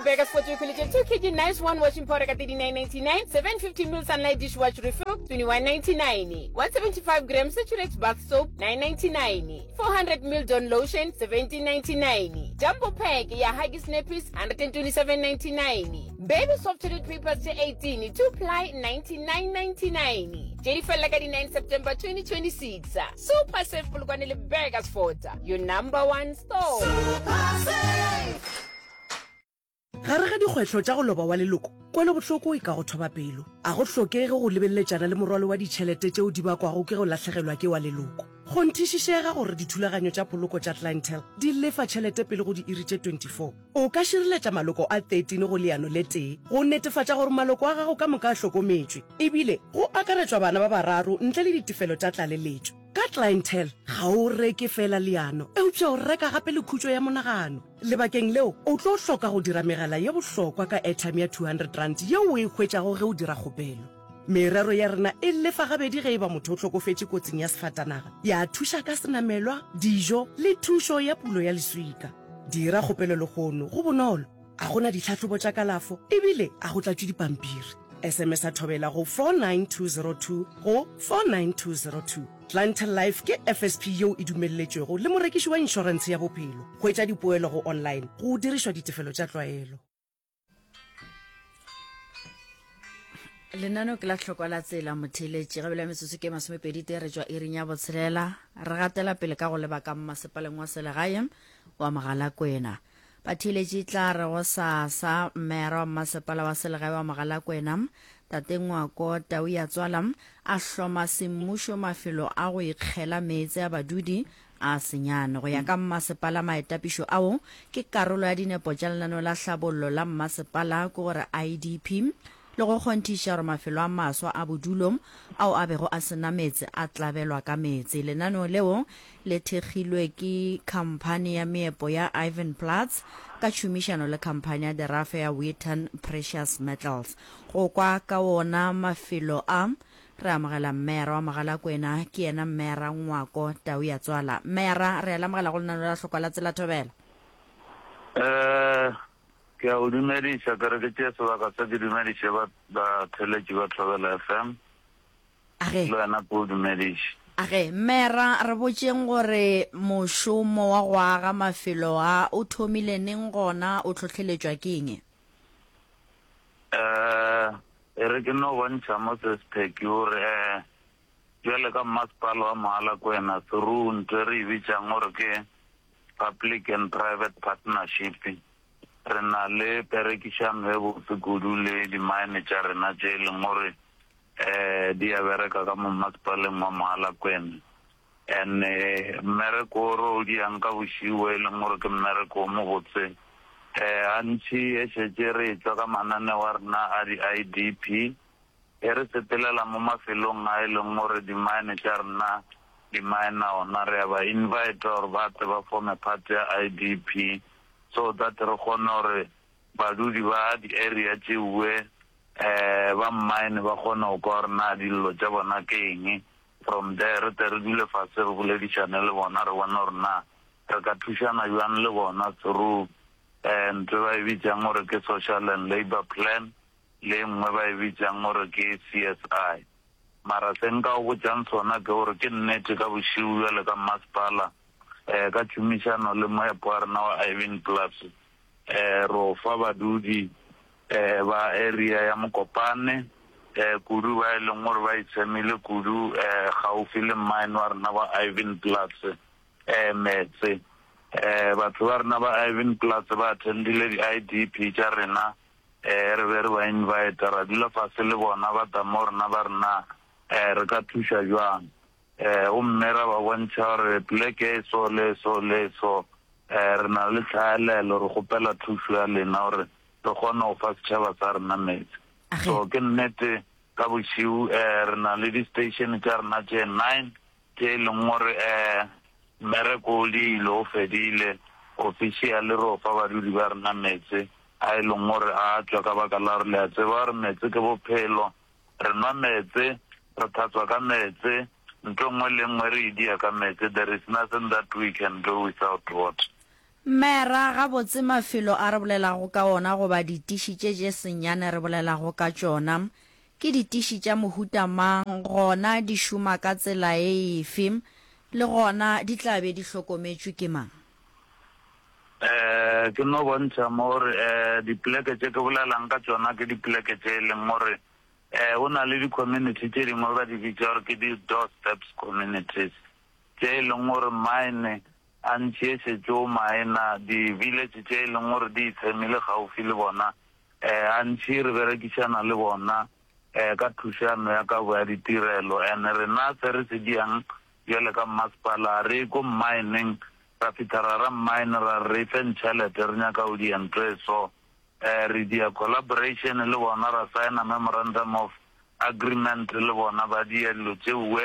Burgersfort o ikhweletše 2 kg Nice One washing powder ka 39.99, 750 ml Sunlight dishwash refill 21.99, 175 grams Saturex bath soap 9.99, 400 ml Dawn lotion 17.99, Jumbo pack ya Huggies nappies 127.99, Baby soft toilet papers tše 18 2 ply 99.99. Tše di felela ka di 9 September 2026. Super Save Polokwane le Burgersfort, your number one store. Gare ga dikgwetlho tša go loba wa leloko, kwelobohloko e ka go thoba pelo. A go hlokege go lebeleletšana le morwalo wa ditšhelete tšeo di bakwago ke go lahlegelwa ke wa leloko. Kgonthišišega gore dithulaganyo tša poloko tša Clientele di lefa tšhelete pele go diiri tše 24. O ka šireletša maloko a 13 go leano le tee go netefatša gore maloko a gago ka moka a hlokometšwe, ebile go akaretšwa bana ba bararo ntle le ditefelo tša tlaleletšo. Ka Clientele, ga o reke feela leano, eupša o reka gape le khutšo ya monagano. Lebakeng leo, o tlo hloka go dira megala ye bohlokwa ka airtime ya R200 yeo o e hwetšago ge o dira kgopelo. Merero ya rena e lefa gabedi ge e ba motho o hlokofetše kotsing ya sefatanaga, ya thuša ka senamelwa, dijo le thušo ya pulo ya leswika. Dira kgopelo lehono, go bonolo, a go na ditlhahlobo tša kalafo ebile a go tlatšwe dipampiri. SMS-a Thobela go 49202 go 49202. Clientele Life ke FSP yeo e dumelletšwego le morekiši wa inšorentshe ya bophelo. Hwetša dipoelo go online go dirišwa ditefelo tša tlwaelo. Lenaneo ke la hlokwa la tsela motheeletši ga bjale metsotso ke masomepedi tee re tšwa iring ya botshelela re gatela pele ka go leba ka mmasepaleng wa selegae wa Mogalakwena. Batheeletši tla re go sasa mmeara wa mmasepala wa selegae wa Mogalakwena Tate Ngwako Tau ya Tswala a hloma semmušo mafelo a go ikgela meetse a badudi a senyane. Go ya ka mmasepala, maetapišo ao ke karolo ya dinepo tša lenaneo la hlabollo la mmasepala, ke gore IDP, le go kgonthiša gore mafelo a maswa a bodulo ao a bego a se na meetse a tlabelwa ka meetse. Lenaneo leo le thekgilwe ke khamphani ya meepo ya Ivanplats ka tšhomišano le khamphani ya derafe ya Wheaton Precious Metals. Go kwa ka wona mafelo a, Re amogela Mmera wa Mogalakwena, ke yena Mmera Ngwako Tau ya Tswala. Mmera, re a le amogela go lenaneo la Hlokwa la Tsela Thobela. Eh, ke a o dumediša, ke re ke tšee sebaka se ke dumediše ba batheeletši ba Thobela FM. Age. Le wena ke o dumediše. Age, Mmera, re botšeng gore mošomo wa go aga mafelo a o thomile neng gona o hlohleletšwa ke eng? Eh, e re ke no bontšha mo se sepheki gore eh, bjale ka mmasepala wa Mogalakwena through ntho e re e bitšang gore ke public and private partnership, re na le perekišano e botse kudu le di-mine tša rena tše e leng gore eh, di a bereka ka mo mmasepaleng wa Mogalakwena. And mmereko o re o diang ka bošiu e leng gore ke mmereko o mobotse, gantši e šetše re etšwa ka mananeo a rena a di-I_D_P, e re sepelela mo mafelong a e leng gore di-mine tša rena di miner ona, re a ba invite-a gore ba tle ba form-e part ya I_D_P so that re kgone gore badudi ba di-area tšeue ba mine ba kgone go kwa gore na dillo tša bona ke eng. From there re tle re dule fase re boledišane le bona re bone gore na re ka thušana bjang le bona through ntho e ba e bitšang gore ke social and labour plan le e nngwe ba e bitšang gore ke C_S_I. Mara se nka go botšang sona ke gore ke nnete ka bošego bjale ka mmasepala ka tšhomišano le moepo wa rena wa Irving Plus ro fa badudi ba area ya Mokopane, kudu ba e leng gore ba itshemile kudu gaufi le mine wa rena wa Ivanplats, meetse. Batho ba rena ba Ivanplats ba attendile di-I_D_P tša rena, re be re ba invite, ra dula fase le bona, ba tla mo rena ba re na re ka thuša bjang. Gomme ra ba bontšha gore poleke e so le e so le e so, re na le tlhaelelo, re kgopela thušo ya lena gore re kgone go fa setšhaba sa rena meetse. So ke nnete ka bošego re na le di-station tša rena tše nine tše e leng gore mmereko o diile, o fedile officially re o fa badudi ba rena meetse a e leng gore a tšwa ka baka la gore le a tseba gore meetse ke bophelo. Re nwa meetse, re tlhatswa ka meetse, ntho e nngwe le e nngwe re e dia ka meetse, there is nothing that we can do without water. Mera, gabotse mafelo a re bolelago ka ona goba ditiši tše tše senyane re bolelago ka tšona, ke ditiši tša mohuta mang, gona di šoma ka tsela e efe, le gona di tla be di hlokometšwe ke mang? Eh, ke no bontšha mo gore eh dipoleke tše ke bolelang ka tšona ke dipoleke tše e leng gore eh go na le di-community tše dingwe ba di bitša gore ke di-doorsteps communities tše e leng gore mine a ntši e šetše o maena di-village tše e leng gore di itshemile gaufi le bona eh a ntši re berekišana le bona eh ka thušano ya kabo ya ditirelo and rena se re se diang bjale ka mmasepala a re ye ko mmineng Ra fihla ra ra mine ra re re feng tšhelete re nyaka go dia ntho e so. Eh re dia collaboration le bona ra signa memorandum of agreement le bona ba dia dilo tšeuwe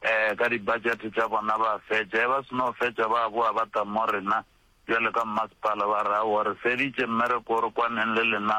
eh ka di budget tša bona ba fetša. E ba seno fetša ba boa ba tla mo rena bjale ka mmasepala ba re aowa re feditše mmereko o re kwaneng le lena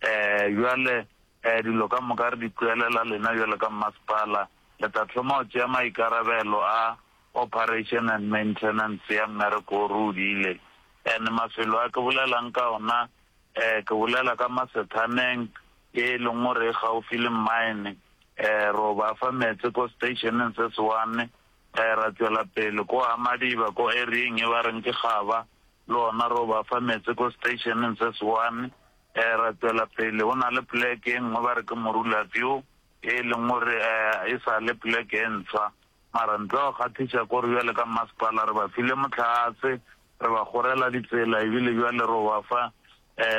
eh bjale eh dilo ka moka re di tlogelela lena bjale ka mmasepala le tla thoma go tšea maikarabelo a Operation and maintenance ya mmereko o re o diile. And mafelo a ke bolelang ka ona, eh, ke bolela ka Masethaneng ye e leng gore e gaufi le mine, eh, ro ba fa meetse ko stationeng se se one, eh, ra tšwela pele ko Hamadiba ko area-eng e ba reng ke Gaba, le ona ro ba fa meetse ko stationeng se se one, eh, ra tšwela pele go na le poleke e nngwe ba re ke Morula View ye e leng gore, eh, e sa le poleke e ntshwa. Mara ntle go kgahliša kore bjale ka mmasepala re ba file mohlagase, re ba kgorela ditsela ebile bjale ro ba fa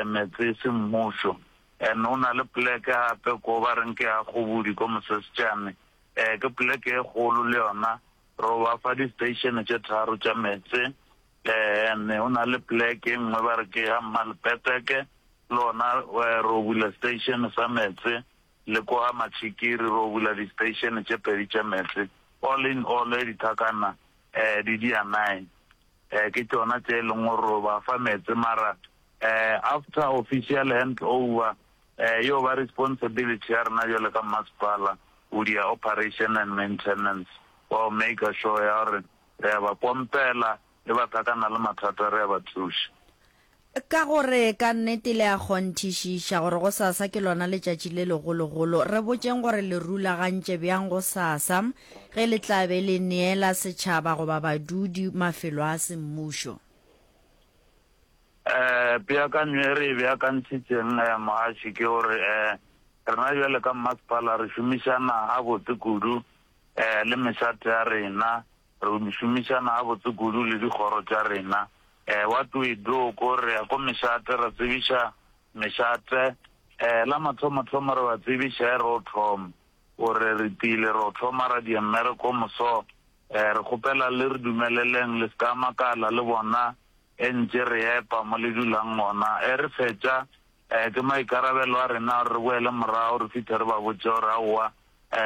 meetse semmušo. And o na le poleke gape ko ba reng ke ya Kgobodi ko Mosesejane, ke poleke e kgolo le yona, ro ba fa di-station tše tharo tša meetse. And o na le poleke e nngwe ba re ke ya Mmalepeteke, le ona ro bula station sa meetse. Le kwa Matšhikiri ro bula di-station tše pedi tša meetse. All in all dithakana di dia nine. Ke tšona tše e leng gore ro ba fa meetse mara after official hand over yo ba responsibility ya rena bjalo ka mmasepala go dia operation and maintenance wa go maker sure ya gore re a ba pompela le ba thakana le mathata re a ba thuša. Ka gore ka nnete le a kgonthišiša gore gosasa ke lona letšatši le legologolo, re botšeng gore le rulagantše bjang gosasa ge le tla be le neela setšhaba goba badudi mafelo a semmušo. Peakanyo e re e beakantšhitšeng mogaši ke gore rena bjale ka mmasepala re šomišana gabotse kudu le mešate ya rena, re šomišana gabotse kudu le dikgoro tša rena. What we do ko re ya ko mešate ra tsebiša mešate la mathomothomo re ba tsebiša e ro thoma gore re tile ro thoma ra dia mmereko moso re kgopela le re dumeleleng le ska makala le bona e ntše re epa mo le dulang gona e re fetša ke maikarabelo a rena gore re boele morago re fihle re ba botše gore aowa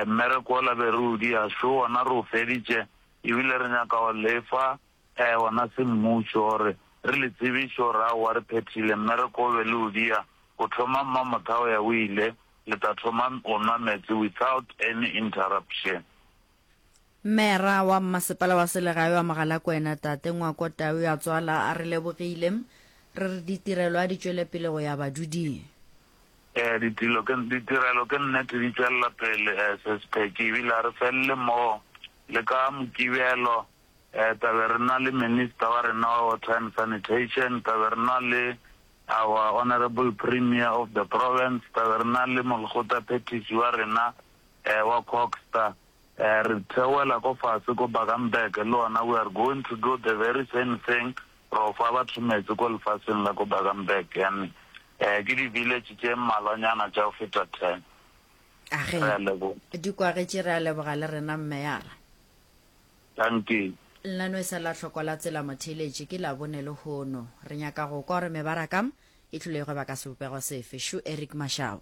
mmereko ola be re o dia šo wona re o feditše ebile re nyaka go lefa Ee, gona semmušo, gore re le tsebiše gore aowa re phethile mmereko o be le o dia, go thoma Mmamotha go ya o ile, le tla thoma go nwa meetse without any interruption. Mera wa Mmasepala wa Selegae wa Mogalakwena, Tate Ngwako Tau ya Tswala a re lebogile, re re ditirelo a di tšwele pele go ya baduding. Ee, ditilo ke, ditirelo ke nnete di tšwelela pele, Sis Peggy, ebile a re felele moo, le ka Mokibelo, Tla be re na le Minister wa rena wa Water and Sanitation, tla be re na le our Honourable Premier of the Province, tla be re na le Molekgotla Phethiši wa rena wa CoGHSTA. Re theoela ko fase ko Bakenberg le gona we are going to do the very same thing, ro fa batho meetse ko lefaseng la ko Bakenberg. And ke di-village tše mmalwanyana tša go feta ten. Age, Re a leboga. di kwagetše, re a leboga le rena Mmeyara. Dankie. Lenaneo e sa la hloko la tsela motheeletši ke Labone lehono. Re nyaka go kwa gore mebaraka e tlile go ba ka sebopego sefe. Šo Eric Mashau.